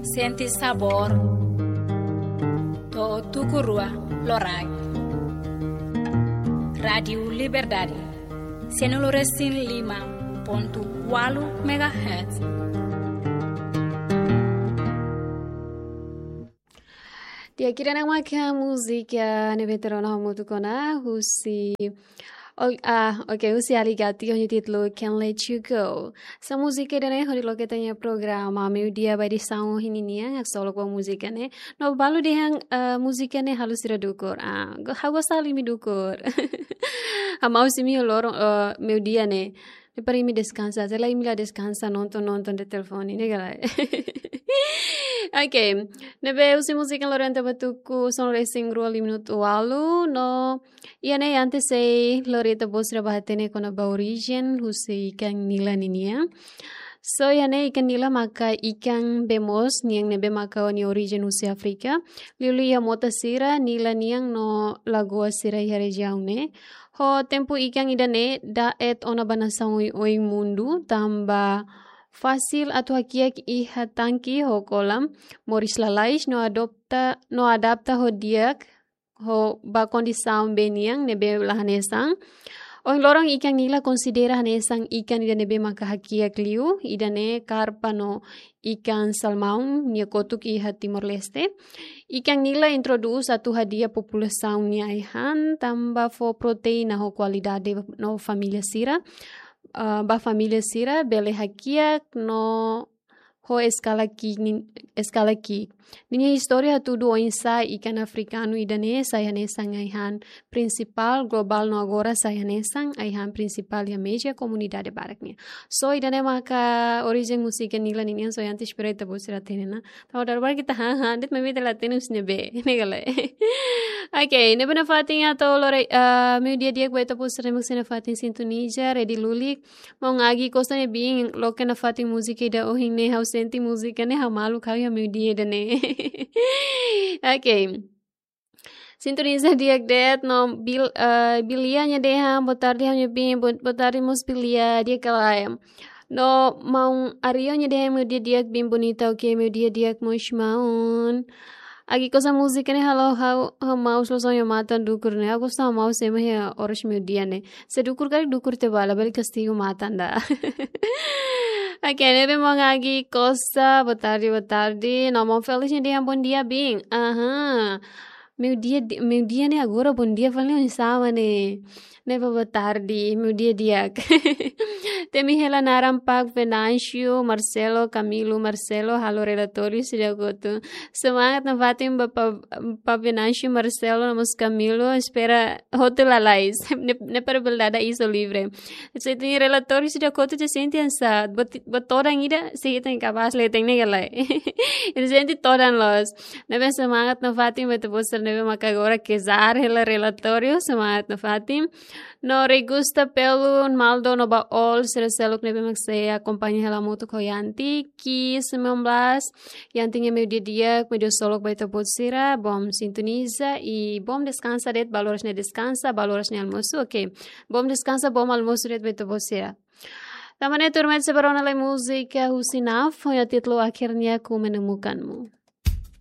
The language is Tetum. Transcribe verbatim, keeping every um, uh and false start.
Sente sabór. To'o tuku rua loraik. Rádiu Liberdade. Sianulu resin lima pontu ualu megahertz. Di'ak, ida-ne'e maka múzika ne'ebé ita rona hamutuk ona husi, ol-, ah, oke, husi Aly Gatti ho nia títulu Can't Let You Go. Hanesan múzika ida-ne'e hodi loke ita-nia programa meiudia ba edisaun ohin nian, haksolok ba múzika ne'e. No balu dehan, eh, múzika ne'e halo sira dukur. Ah, go-, ha'u gosta halo imi dukur. Ha'u mós imi loron, eh, meiudia ne'e. Ne'e para imi deskansa, se lae imi la deskansa, nonton, nonton de'it telefone, ne'e ka lae. Oke, ne'ebé husi múzika loron ita bá tuku, sanulu resin rua lima minutu ualu, no, iha ne'e antes sei lori ita-boot sira bá hatene kona-ba orijen husi ikan nila ninian. So, iha ne'e ikan nila maka ikan bee moos nian ne'ebé maka ho nia orijen husi Áfrika. Liuliu iha mota sira, nila nian no lagoa sira iha rejiaun ne'e. Ho tempu ikan ida-ne'e da'et ona ba nasaun oioin mundu, tanba fasil atu hakiak iha tanke ho kolam, moris lalais no adopta, no adapta ho di'ak, ho ba kondisaun bee nian ne'ebé la hanesan. Ohin loron ikan nila konsidera hanesan ikan ida ne'ebé maka hakiak liu, ida-ne'e karpa no ikan salmaun nia kotuk iha Timor-Leste. Ikan nila introdús atu hadi'a populasaun nia ai-han, tanba fó proteína ho kualidade no família sira, ah, ba família sira bele hakiak no ho eskala ki'ik nin-, eskala ki'ik. Ninia istória hatudu oinsá ikan afrikanu ida-ne'e sai hanesan ai-han prinsipál globál no agora sai hanesan ai-han prinsipál iha meza komunidade barak nian. So, ida-ne'e maka orijen múzika nila ninian, so, antes espera ita-boot sira hatene ona. Tanba dala barak ita han, han de'it maibé ita la hatene husi ne'ebé, ne'e ka lae. Oke, ne'ebé nafatin atu lori, ah, meiudia di'ak ba ita-boot sira ne'ebé sei nafatin sintoniza, Rede Lulik, maun Agi Costa nia biin loke nafatin múzika ida ohin ne'e, ha'u sente múzika ne'e ha'u maluk ha'u iha meiudia ida-ne'e. Oke. Sintoniza di'ak de'it no Bil-, eh, Bilia nia dehan, boa tarde, ha'u-nia biin, bo-, boa tarde mós Bilia, di'ak ka lae. No maun Ario nia dehan, meiudia di'ak biin bonita, oke, meiudia di'ak mós maun. Agi Costa, múzika ne'e halo ha'u, ha'u maus loos ha'u-nia matan dukur ne'e. Ha'u gosta maus ema iha oras meiudia ne'e. Se dukur karik dukur tiha ba, labele kastigu matan ida. Oke, ne'ebé maun Agi Costa, boa tarde, boa tarde. No maun Felix nia dehan, bom dia, biin. Aha. Meiudia di-, meiudia ne'e agora bom dia fali oinsá mak ne'e. Ne'ebé boa tarde, meiudia di'ak. Temi hela naran Pak Venâncio, Marcelo, Camilo, Marcelo, halo relatóriu sira kotu. Semangat nafatin ba Pa-, Pak Venâncio, Marcelo, no mós Camilo, espera hotu lalais. Ne'e, ne'e para bele dada isu livre. Se iha relatóriu sira kotu, ita sente hanesan, buat, buat todan ida, se iha ita-nia kapás leten, ne'e ka lae. Ita sente todan loos. Ne'ebé semangat nafatin ba ita-boot sira ne'ebé maka agora kezar hela relatóriu, semangat nafatin. No Regusta, Pelu, Maldo, no ba all sira seluk ne'ebé mak sei akompaña hela hamutuk ho Yanti, Ki sembilan belas, Yanti nia meiudia di'ak, meiudia solok ba ita-boot sira, bom sintoniza, i bom deskansa de'it, balu oras ne'e deskansa, balu oras ne'e almosu, oke. Bom deskansa, bom almosu de'it ba ita-boot sira. Tanba ne'e tuirmai ita sei bá rona lai múzika husi Naf, ho nia títulu Akhirnya Ku Menemukanmu.